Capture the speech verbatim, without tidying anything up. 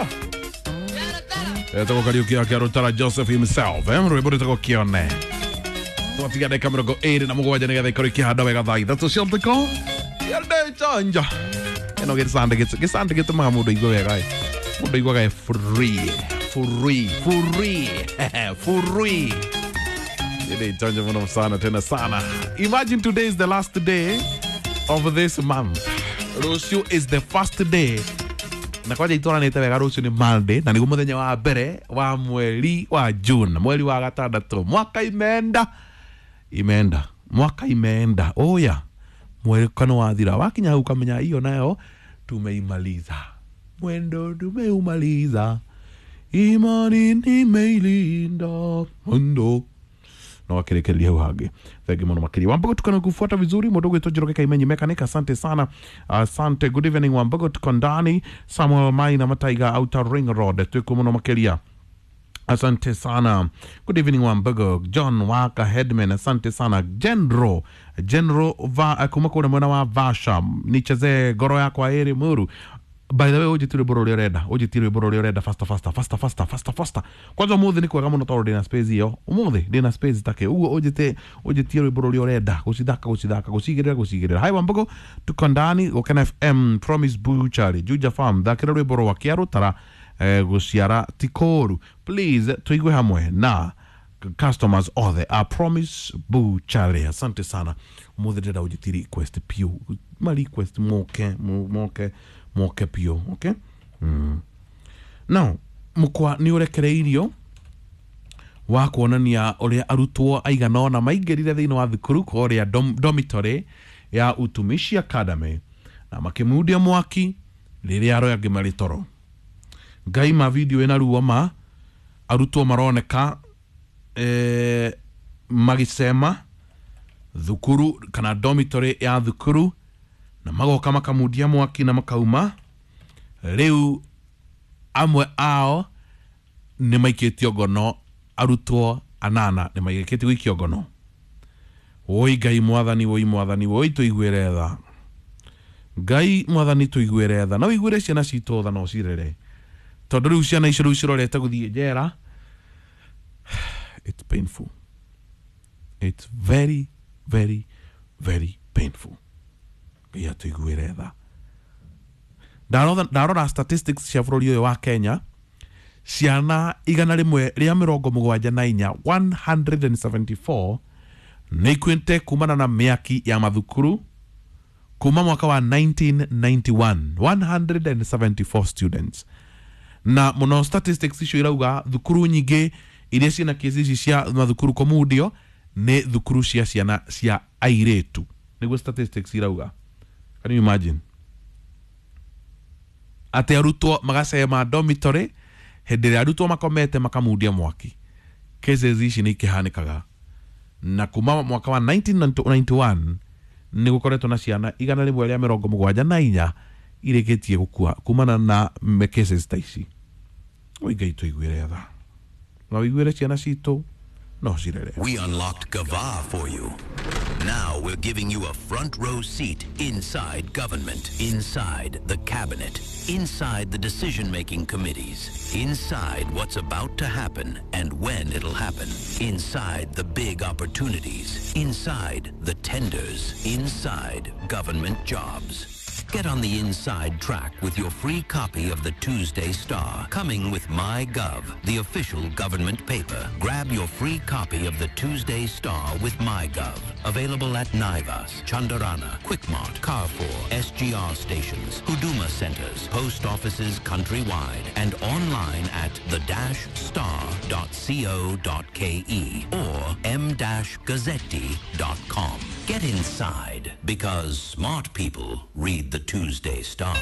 Rutara etagwo Kariuki wa Kĩarũtara Joseph himself, eh rwĩmbo rwĩtagwo Kĩone. Twatiga ndagĩka mĩrongo ĩrĩ na mũgwanja nĩgetha ikorwo ikĩhanda wega thaa ithatũ cia ũtukũ. Yende chanja ĩno gĩcandĩ gĩcandĩ gĩtũmaga mũndũ aigue wega ĩ. Mũndũ aiguaga e free free free free. Ile chanja muno sana tena sana. Imagine today is the last day of this month. Rũciũ is the first day na kwanja itwaranĩte wega. Rũciũ nĩ Monday na nĩguo mũthenya wa mbere wa mweri wa June, mweri wa gatandatũ. Mwaka imeenda imeenda mwaka imeenda oya mweri kana wathira wakinya hau ukamenya hiyo nayo tumeimaliza. Mwendo tumeumaliza, imani nimeilinda mwendo no wakirekereria hau hangĩ. Thengi mũno makĩria. Wambogo, tukana kufuata vizuri. Mũndũ ũgwĩtwo Njoroge Kaimenyi Mechanic, asante sana, asante. Good evening Wambogo, tuko ndani. Samuel Maina Mataiga Outer Ring Road, twĩkuo mũno makĩria, asante sana. Good evening Wambogo. John Waka Headman, asante sana. General General va kuma kũrĩa mwena wa Vasha, nichezee ngoro yakwa ĩrĩ mũru. By the way, ũnjĩtie rwĩmbo rũrĩa ũrenda, ũnjĩtie rwĩmbo rũrĩa ũrenda faster faster faster faster faster faster. Kwanza ũmũthĩ nĩ kwega mũno tondũ ndĩna space ĩyo, ũmũthĩ ndĩna space take ũguo ũnjĩte ũnjĩtie rwĩmbo rũrĩa ũrenda, gũcithaka gũcithaka gũcigĩrĩra gũcigĩrĩra. Hi Wambogo, tuko ndani Gũkena F M. Promise Butchery Juja Farm, thakĩra rwĩmbo rwa Kĩarũtara, eh, gũciara ti kũũru, please. Tuigue hamwe na customers othe a Promise Butchery, asante sana. Ũmũthĩ ndĩrenda ũnjĩtie request piũ, ma request moke moke moke piũ. Okay, mm. Now mũkwa nĩ ũrekereirio wa kuonania ũrĩa arutwo aigana ũna maingĩrire thĩinĩ wa thukuru kũrĩa dom, dormitory ya Utumishi Academy na makĩmundia mwaki rĩrĩa arĩa angĩ marĩ toro. Ngai ma video ĩna ruo ma arutwo maroneka eh, magĩcema thukuru kana dormitory ya thukuru na magoka makamundia mwaki na makauma. Rĩu amwe ao nĩ maikĩtio ngono, arutwo anana nĩ maikĩtio gũikio ngono. Woi Ngai mwathani, woi mwathani, woi tũiguĩre tha. Ngai mwathani tũiguĩre tha na ũiguĩre ciana citũ tha na ũcirere, tondũ rĩu ciana icio rĩu cirorete gũthiĩ njera. It's painful, it's very very very painful. Ngai atũiguĩre tha. Ndarora ndarora statistics cia bũrũri ũyũ wa Kenya, ciana igana rĩmwe rĩa mĩrongo mũgwanja na inya, one hundred seventy-four, nĩ ikuĩte kumana na mĩaki ya mathukuru kuma mwaka wa nineteen ninety-one, one hundred seventy-four students. Na mũno statistics icio irauga thukuru nyingĩ iria ciĩna kesi ici cia mathukuru kũmundio nĩ thukuru cia ciana cia airĩtu, nĩguo statistics irauga. Can you imagine atĩ arutwo magacema dormitory hĩndĩ ĩrĩa arutwo makomete makamundia mwaki? Cases ici nĩ ikĩhanĩkaga na kuma mwaka wa nineteen ninety-one nĩ gũkoretwo na ciana igana rĩmwe rĩa mĩrongo mũgwanja na inya irĩkĩtie gũkua kumana na me- cases ta ici. Oi Ngai tũiguĩre tha na ũiguĩre ciana citũ no cirere. We unlocked Gava for you. Now we're giving you a front row seat inside government, inside the cabinet, inside the decision making committees, inside what's about to happen and when it'll happen, inside the big opportunities, inside the tenders, inside government jobs. Get on the inside track with your free copy of the Tuesday Star, coming with MyGov, the official government paper. Grab your free copy of the Tuesday Star with MyGov. Available at Naivas, Chandarana, Quickmart, Carrefour, S G R stations, Huduma centers, post offices countrywide, and online at the dash star dot co dot k e or m dash gazzetti dot com. Get inside because smart people read the Tuesday Star.